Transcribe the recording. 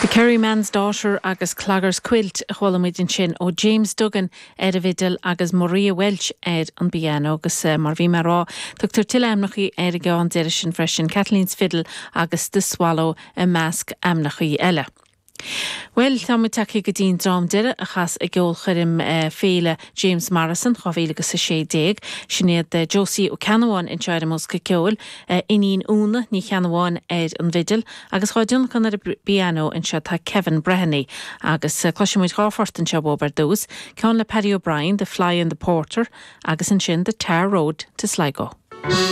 The Kerryman's Daughter agus Clogher's Quilt a chuala muid ansin ó James Duggan ar an bhfidil agus Maria Walsh ar an bpianó agus mar a bhí mé a rá, tugtar tuilleadh ainmneachaí ar an gceann deiridh sin freisin, Kathleen's Fiddle agus The Swallow i measc ainmneachaí eile. Bhuel, tá muid tagtha go dtí an dream deiridh a chas i gceolchoirm Féile James Morrison 2016. Sin iad Josie Ó Ceannabháin anseo ar an mbosca ceoil, iníon Úna Ní Cheannabháin ar an bhfidil agus dhá dtionlacan ar an bpianó anseo tá Kevin Breheny. Agus cloisfidh muid phort anseo uathub ar dtús, ceann le Paddy O'Brien, The Fly and the Porter agus ansin The Tar Road to Sligo.